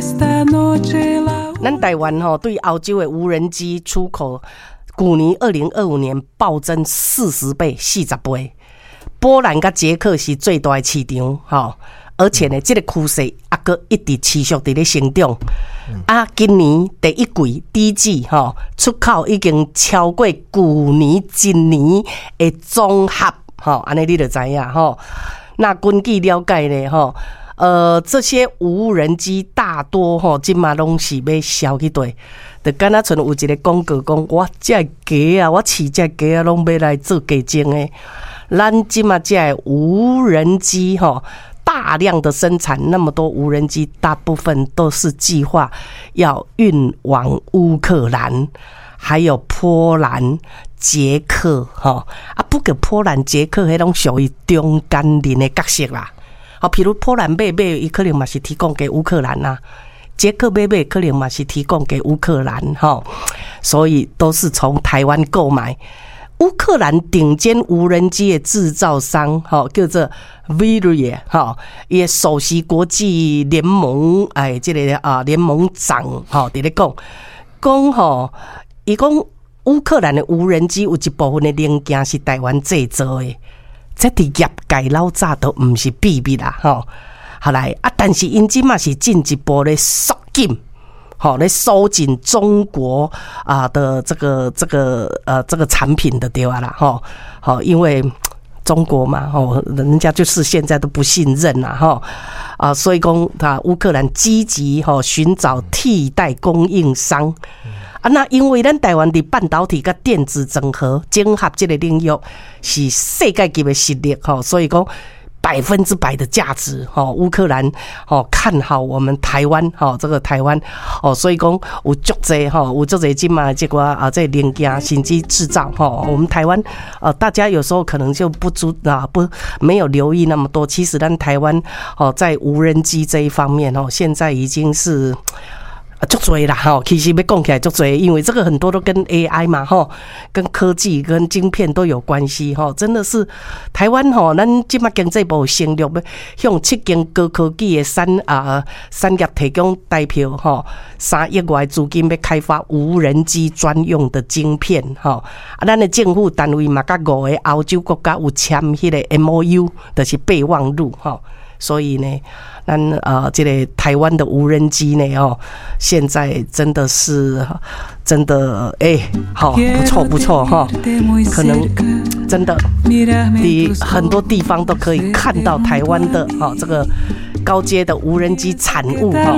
咱台灣吼對歐洲的無人機出口，舊年2025年暴增40倍，40倍。波蘭佮捷克是最大的市場，吼，而且呢，這個趨勢猶閣一直持續佇咧成長。啊，今年第一季第一季吼，出口已經超過舊年一年的總和，吼，按呢你就知影吼。那根據了解呢，吼，這些無人機大多吼，這馬攏是欲銷去佗，就敢若像有一個廣告講，我這雞仔，我飼這雞仔攏欲來做雞精的。咱這馬這無人機吼，大量的生產那麼多無人機，大部分都是計劃要運往烏克蘭，還有波蘭、捷克，吼啊，不過波蘭、捷克彼攏屬於中間人的角色啦。好，譬如波蘭買買，伊可能嘛是提供給烏克蘭呐；捷克買買，可能嘛是提供給烏克蘭，吼。所以都是從台灣購買。烏克蘭頂尖無人機的製造商，吼，叫做 Vyriy，吼，伊的首席國際聯盟，哎，這個啊聯盟長，吼，佇咧講，講吼，伊講烏克蘭的無人機有一部分的零件是台灣製造的。這佇業界老早都毋是秘密啦，吼。後來啊，但是𪜶這馬是進一步咧縮緊，吼，咧收緊中國啊的這個產品的對啊啦，吼，好，因為中國嘛，吼，人家就是現在都不信任啦，吼，啊，所以講他烏克蘭積極吼尋找替代供應商。啊，那因為咱台灣佇半導體佮電子整合這個領域是世界級的實力吼，所以講100%的價值吼，烏克蘭吼看好我們台灣吼，這個台灣哦，所以講有足濟吼，有足濟這馬這個啊，這個零件甚至製造吼，我們台灣大家有時候可能就不知啊，不沒有留意那麼多，其實咱台灣哦，在無人機這一方面哦，現在已經是足濟啦吼，其實欲講起來足濟，因為這個很多都跟 AI 嘛吼，跟科技、跟晶片都有關係吼，真的是台灣吼，咱這馬經濟部承諾欲向七間高科技的產業提供台票吼，3億外資金欲開發無人機專用的晶片吼，啊，咱的政府單位嘛，佮五個歐洲國家有簽彼個 MOU，就是備忘錄吼。所以呢，咱這個台灣的無人機呢，哦，現在真的是真的哎，好不錯不錯哈，可能真的你很多地方都可以看到台灣的哈這個高階的無人機產物哈。